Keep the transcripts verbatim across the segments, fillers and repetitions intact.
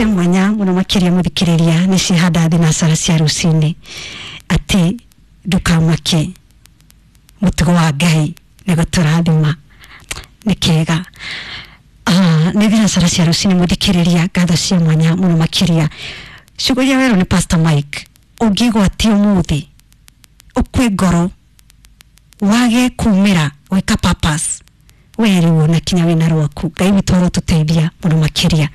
Cia mwanya muno makiria muthikiriria ni cihanda thinacara cia rucini ati ndukamake mutugo wa Ngai ni guturathima ni kega. Ah, ni thinacara cia rucini muthikiriria, ngatho cia mwanya muno makiria. Ciugo iria werwo ni Pastor Mike, ungigwatia umuthi ukwe ngoro wage kumira gwika purpose weriwo na kinya wina rwaku, Ngai witũ arotuteithia muno makiria.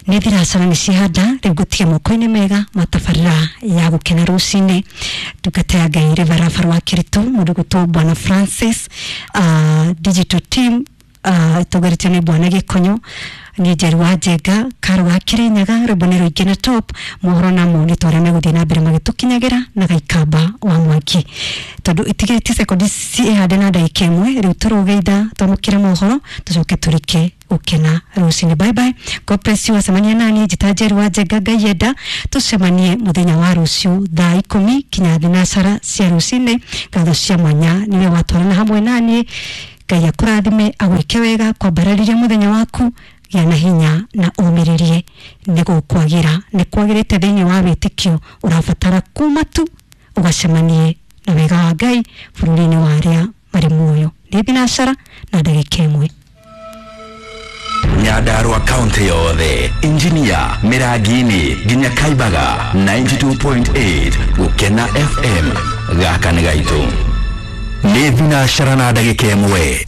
Nĩ thinacara nĩ cihanda rĩu ngũtige moko-inĩ mega matabarĩra ya gũkena rũcinĩ. Ndungata ya Ngai Reverend wa Kiritu mũndũ gwĩtwo Bwana Francis, uh, digital team uh, ĩtongoretio nĩ Bwana Gĩkonyo, ni Njeru wa Njenga Karo wa Kirinyaga, rwĩmbo nĩ rũingĩ na top mohoro namo nĩ twarĩa megũthiĩ na mbere magĩtũkinyagĩra na Gaikamba wa Mwangi, tondũ itigĩrĩtie sekondi ciĩhande na ndagĩka ĩmwe. Rĩu tũrũgeitha twamũkĩre mohoro tũcoke tũrike gũkena rũcinĩ. Bye bye, God bless you. Acemania nani njĩta Njeru wa Njenga, Ngai enda tũcemanie mũthenya wa rũciũ thaa ikũmi kinya thinacara cia rũcinĩ. Ngatho cia mwanya nĩwe watwarana hamwe naniĩ. Ngai akũrathime, agwĩke wega, kwambararĩria mũthenya waku, gĩa na hinya na ũmĩrĩrie nĩ gũkwagĩra, nĩ kwagĩrĩte thĩinĩ wa wĩtĩkio ũrabatara kuma tu ũgacemanie na wega wa Ngai bũrũri-inĩ wa arĩa marĩ muoyo. Nĩ thinacara na ndagĩka ĩmwe. Nyandarua kaunti yothe, Injinia, Miragini nginya Kaibaga, ninety two point eight Gukena F M gaka nĩ gaitũ. Nĩ thinacara na ndagĩka ĩmwe.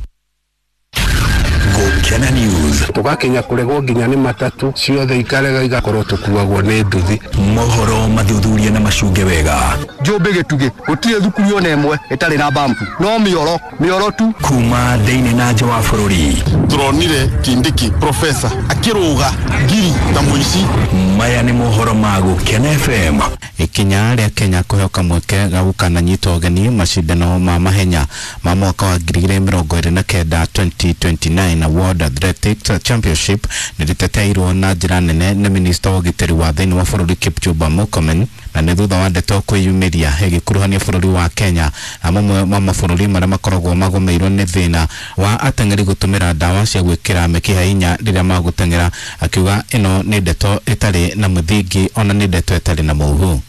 Gukena News. Tugakinya kuregwo nginya ni matatu ciothe ikarega igakorwo tukuagwo ni nduthi. Mohoro mathuthurie na macunge wega. Njũmbĩ gĩtugĩ gũtirĩ thukuru ona ĩmwe ĩtarĩ na bampu, no mĩoro mĩoro tu kuma thĩinĩ na nja wa bũrũri. Turonire Kindiki professor akĩrũga ngiri ta mũici. Maya nĩ mohoro ma Gukena F M. Ikinya rĩa Kenya kũheo mweke ga gũkananyita ũgeni macindano ma mahenya ma mwaka wa ngiri igĩrĩ mĩrongo ĩrĩ na kenda twenty twenty nine World Athletics Championship nĩ rĩteteirwo na njĩra nene nĩ minista wa ũgitĩri wa thĩinĩ wa bũrũri Kipchumba Murkomen, na nĩ thutha wa ndeto kwĩyumĩria ĩgĩkuruhania bũrũri wa Kenya na mamwe ma mabũrũri marĩa makoragwo magũmĩirwo nĩ thĩna wa ateng'eri gũtũmĩra ndawa cia gwĩkĩra mĩkiha hinya rĩrĩa magũteng'era, akiuga ĩno nĩ ndeto ĩtarĩ na mũthingi ona nĩ ndeto ĩtarĩ na mũhu.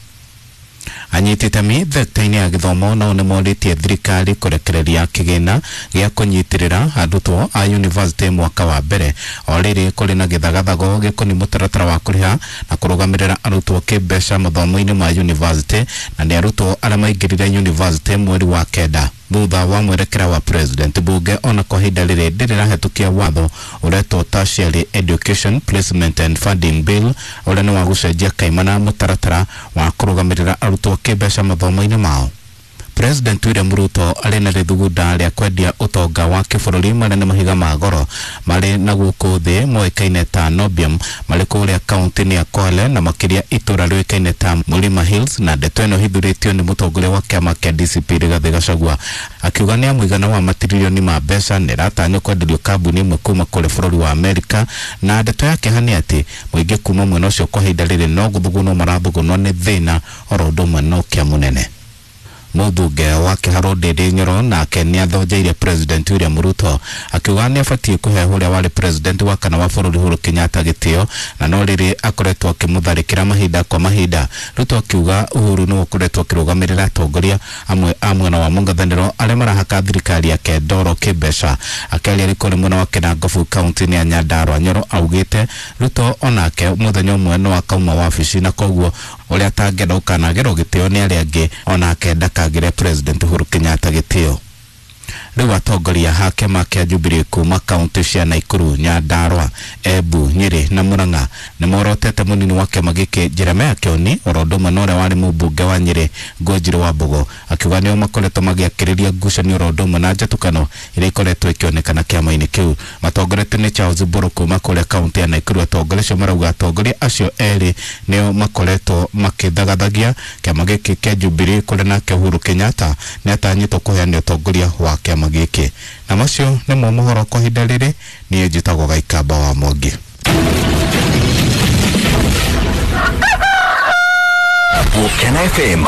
Anyiti itemi thekta-inĩ ya gĩthomo nao nĩ morĩtie thirikari kũrekereria kĩgĩna gĩa kũnyitĩrĩra arutwo a yunivasĩtĩ mwaka wa mbere o rĩrĩ kũrĩ na gĩthagathago gĩkoniĩ mũtaratara wa kũrĩha na kũrũgamĩrĩra arutwo kĩmbeca mathomo-inĩ ma yunivasĩtĩ, na nĩ arutwo arĩa maingĩrire yunivasĩtĩ mweri wa kenda thutha wa mwerekera wa president. Bunge ona kwa ihinda rĩrĩ ndĩrĩrahĩtũkia watho ũretwo Tertiary Education Placement and Funding Bill ũrĩa nĩ wa gũcenjia kaimana mũtaratara wa kũrũgamĩrĩra arutwo kĩmbeca mathomo-inĩ mao. President William Ruto arĩ na rĩthugunda rĩa kwendia ũtonga wa kĩbũrũri marĩa nĩ mahiga ma goro marĩ na gũkũ thĩ moĩkaine ta Nobium marĩ kũrĩa kaunti-inĩ ya Kwale na makĩria itũra rĩũĩkaine ta Mlima Hills, na ndeto ĩno ĩhithũrĩtio nĩ mũtongoria wa kĩama kĩa D C P Rigathĩ Gachagua akiuga nĩ mũigana wa matiririoni ma mbeca nĩ ĩratanywo kwenderio kambuni ĩmwe kuma kũrĩ bũrũri wa Amerika, na ndeto ya kĩeha nĩ atĩ mũingĩ kuma mwena ũcio kwa ihinda rĩrĩ no gũthugunwo marathugunwo nĩ thĩna oro ũndũ ũmwe na ũkĩa mũnene. Mũmbunge wa Kĩharũ Ndindi Nyoro nake nĩ athonjeire President William Ruto akiuga nĩ abatiĩ kũhe ũrĩa warĩ president wa kana wa bũrũri Uhuru Kenyatta gĩtĩo, na no rĩrĩ akoretwo akĩmũtharĩkĩra mahinda kwa mahinda. Ruto akiuga Uhuru nĩwe ũkoretwo akĩrũgamĩrĩra atongoria amwe a mwena wa mũng'ethanĩro arĩa marahaka thirikari yake ndoro kĩmbeca. Akĩaria rĩ kũrĩ mwena wa Kinangofu kaunti-inĩ ya Nyandarua, Nyoro augĩte Ruto onake mũthenya ũmwe no akauma wabici, na koguo ũrĩa atangĩenda gũkanagerwo gĩtĩo nĩ arĩa angĩ onake ndakagĩre President Uhuru Kenyatta gĩtĩo. Rĩu atongoria a kĩama kĩa Jubilee kuma kaunti cia Nakuru, Nyandarua, Embu, Nyĩrĩ na Murang'a nĩ morotete mũnini wa kĩama gĩkĩ Jeremiah Kioni oro ũndũ ũmwe na ũrĩa warĩ mũmbunge wa Nyĩrĩ Ngũnjiri wa Mbogo, akiuga nĩo makoretwo magĩakĩrĩria ngucanio oro ũndũ ũmwe na njatũkano iria ikoretwo ikĩonekana kĩama-inĩ kĩu. Matongoretio nĩ Charles Mburu kuma kũrĩa kaunti ya Nakuru. Atongoria acio marauga atongoria acio erĩ nĩo makoretwo makĩthagathagia kĩama gĩkĩ kĩa Jubilee kũrĩa nake Uhuru Kenyatta nĩ atanyĩtwo kũheana ũtongoria wa kĩama gĩkĩ. Na macio nĩmo mohoro kwa ihinda rĩrĩ. Niĩ njĩtagwo Gaikamba wa Mwangi. Gukena F M.